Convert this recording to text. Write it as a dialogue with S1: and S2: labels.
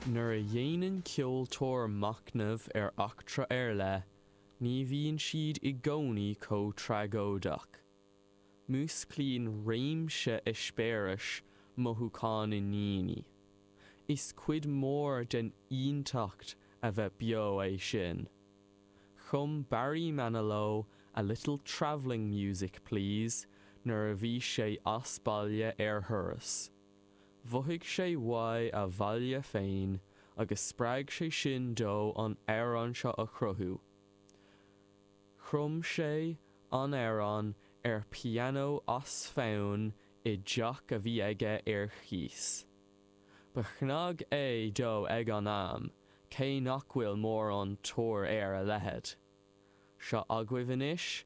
S1: Nuair a dhéanann ceoltóir machnamh ar eachtra ar leith, ní bhíonn siad i gcónaí chomh tragóideach. Músclaíonn réimse eispéiris mothúcháin i ndaoine. Is cuid mhór den fhiúntacht a bheith beo é sin. Chum Barry Manilow 'A Little Travelling Music, Please' nuair a bhí sé as baile ar thuras. Mhothaigh sé uaidh a bhaile féin agus spreag sé sin dó an amhrán seo a chruthú. Chum sé an amhrán ar pianó as fonn i dteach a bhí aige ar cíos. Ba chnag é dó ag an am, cé nach bhfuil mórán tóir ar a leithéid. Seo agaibh anois.